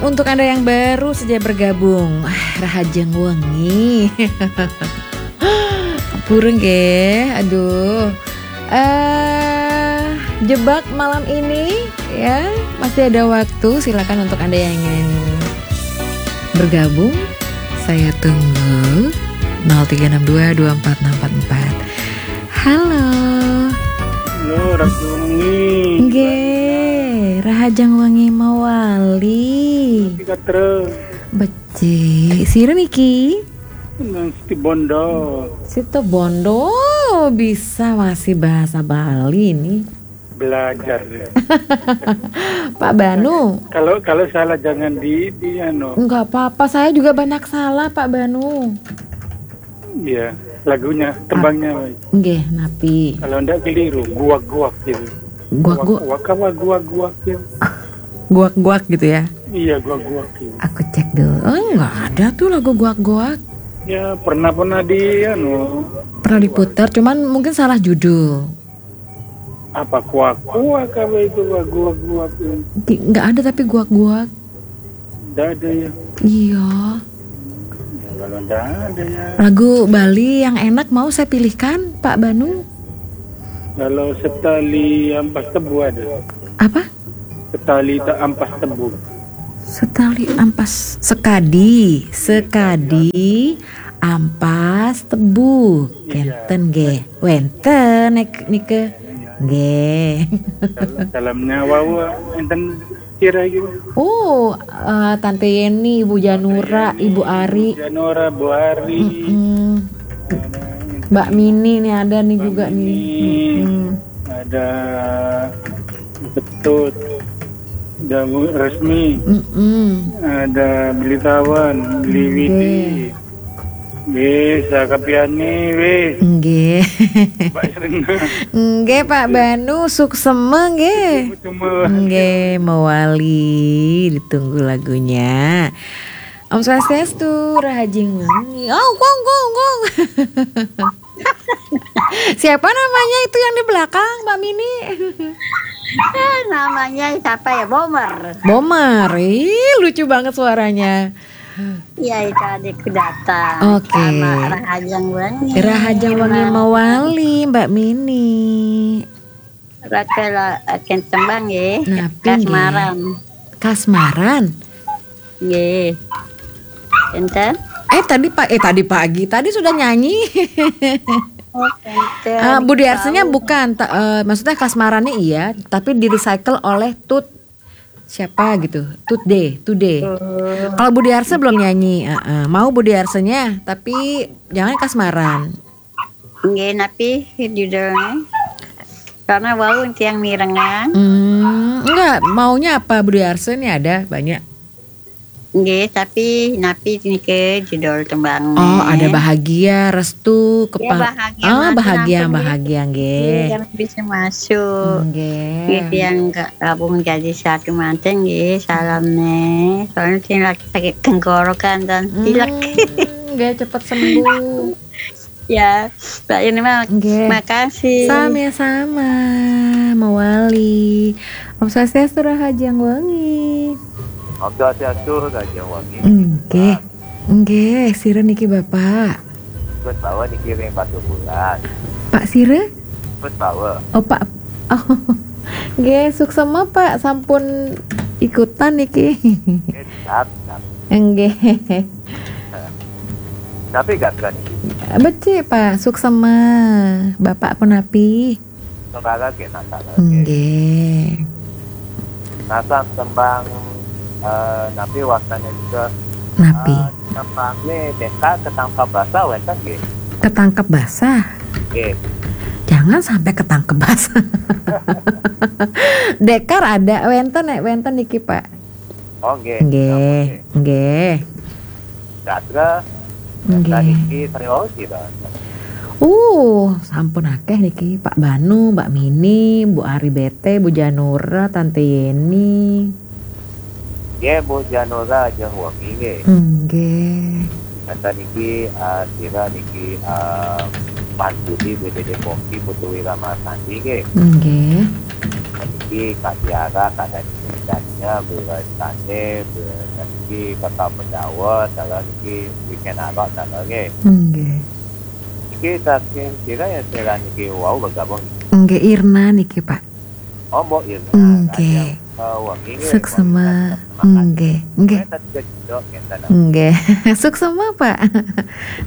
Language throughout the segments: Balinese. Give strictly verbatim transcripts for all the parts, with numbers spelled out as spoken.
Untuk Anda yang baru saja bergabung, ah, Rahajeng Wengi. Purun nggih, aduh. Eh, jebak malam ini ya, masih ada waktu, silakan untuk Anda yang ingin bergabung. Saya tunggu nol tiga enam dua dua empat enam empat empat. Halo. Halo, Rahajeng Wengi. Nggih, Rahajeng Wengi mawali. Tiga terus. Becik. Sira niki? Nang Situbondo. Situbondo. Oh, bisa masih bahasa Bali nih. Belajar. Pak Banu. Kalau kalau salah jangan di di anu. Enggak apa-apa, saya juga banyak salah, Pak Banu. Iya, lagunya, tembangnya. Nggih, napi? Kalau ndak keliru, guak-guak gitu. Guak-guak. Waka wak guak-guak gitu. Guak-guak gitu ya? Iya, guak-guak gitu. Aku cek dulu. Oh, nggak ada tuh lagu guak-guak. Ya, pernah pernah di anu. Pernah diputar, cuman mungkin salah judul. Apa kuak-kuak apa itu, guak-guak itu? Nggak ada tapi guak-guak. Nggak ada ya. Iya. Ya, kalau nggak ada ya. Lagu Bali yang enak mau saya pilihkan, Pak Banu. Kalau Setali Ampas Tebu ada. Apa? Setali tak ampas tebu. Setali ampas, sekadi, sekadi ampas tebu. Iya. Kenten nggih. Wenten nek nike. Nggih. Salamnya wau enten sira iki. Oh, eh, Tante Yeni, Ibu Janura, Ibu Ari. Janura, Bu Ari. Mm-mm. Mbak Mini nih ada nih juga nih. Mm-mm. Ada Ketut. Ada Bu Resmi. Mm-mm. Ada Beli Tawan, Beli Widi. Nggih, sakapiane wis. Nggih. Pak Irna. Nggih, Pak Banu, suksema nggih. Suksema. Nggih, mewali, ditunggu lagunya. Om Swastiastu, Rahajeng Wengi. Oh, gong, gong, gong. Siapa namanya itu yang di belakang, Mbak Mini? Eh, namanya siapa ya? Bomer. Bomer. Ih, lucu banget suaranya. Iya, itu adikku datang. Oke. Sama Rahajeng Wengi. Rahajeng Wengi mawali, Mbak Mini. Raka la akan tembang ya. Napi nggih? Kasmaran. Kasmaran. Nggih. Enten? Eh, tadi pa eh tadi pagi, tadi sudah nyanyi. Oh, enten. Eh, Budi Arsenya bukan, ta- eh, maksudnya kasmarannya iya, tapi di-recycle oleh Tut siapa gitu, Tut D, Tut D. Kalau Budi Arse belum nyanyi, eh, eh, mau Budi Arsenya, tapi jangan kasmaran. Nggih, napi judulnya? Karena wau tiang mirengan. Hmm, enggak, maunya apa Budi Arse nih, ada banyak. Nggih, tapi napi niki judul tembang. Oh, ada bahagia, restu, Ya, kepang. bahagia, Ah, nanti, bahagia, nanti. Bahagia nggih. Yang bisa masuk. Nggih. Nggih, yang gabung jadi satu manten nggih, salam nih. Soalnya sing lagi sakit tenggorokan dan pilek. Hmm, nggih, cepet sembuh. Ya, Mbak Yeni mah, Nggih. Makasih. Sama-sama, mawali. Om Swastiastu, Rahajeng Wengi. Om Swastiastu, Rahajeng Wengi. Nggih. Nggih, sira niki Bapak. Wis bawa niki ring Batu Bulan. Pak sira? Wis bawa. Oh, Pak. Oh. Nggih, suksema Pak, sampun ikutan niki. Eh, siap, siap. Nggih. Tapi gak berani. Becik, Pak, suksema. Bapak punapi? Saudara ke nasar. Nggih. Nasar tembang eh, napi wastane juga Napi? Eh, tembangnya deka ketangkap basah wenten nggih. Ketangkep basah. Nggih. Jangan sampai ketangkep basah. Dekar ada, wenten nek wenten niki, Pak. Oh nggih. Nggih, nggih. Gatra Nggih. Tadi ki Sri Wau sih, Bang. Uh, sampun akeh niki, Pak Banu, Mbak Mini, Bu Ari Bete, Bu Janura, Tante Yeni. Nggih, Bu Janura jeung Wengi nggih. Nggih. Kata niki eh, sira niki eh, Mas Budi, B D D Kompi, Putu Wiramasandi nggih. Nggih. Niki Kak Tiara, Kak Dani. Jadinya bila tane, bila niki kota Pendawa, salah niki weekend arok salah nggih. Nggih. Niki saking sira ya sira niki wau bergabung. Nggih, Irna niki, Pak. Oh, Mbok Irna. Nggih. Raja, eh, wengi nggih, Suksema. Mbok Irna, semangat. Nggih, nggih. Saya tak juga kita nak. Nggih. Suksema, Pak.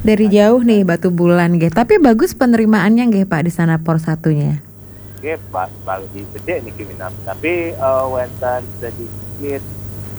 Dari jauh nih Batubulan nggih. Tapi bagus penerimaannya nggih, Pak, di sana Porsatunya. Nggih, ba- baru di bedek niki minat. Tapi eh, wonten sedikit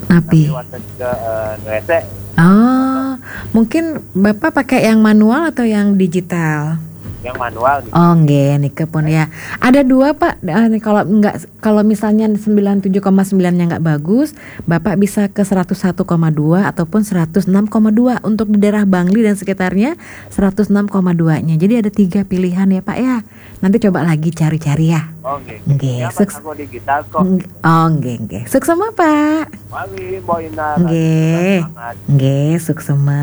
Napi? Tapi wonten juga eh, ngeresek Oh, mungkin Bapak pakai yang manual atau yang digital? Yang manual niki. Oh, nggih, niki pun ya. Ada dua, Pak. Ah, nih, kalau enggak, kalau misalnya sembilan tujuh koma sembilan-nya nggak bagus, Bapak bisa ke seratus satu koma dua ataupun seratus enam koma dua. Untuk di daerah Bangli dan sekitarnya, seratus enam koma dua-nya. Jadi ada tiga pilihan ya, Pak ya. Nanti coba lagi cari-cari ya. Oh, nggih. Nggih, Ya, Pak, suks- aku digital kok. Nggih, oh, nggih, nggih. Suksema, Pak. Mari, Mbok Ina. Nggih. Semangat. Nggih, suksema.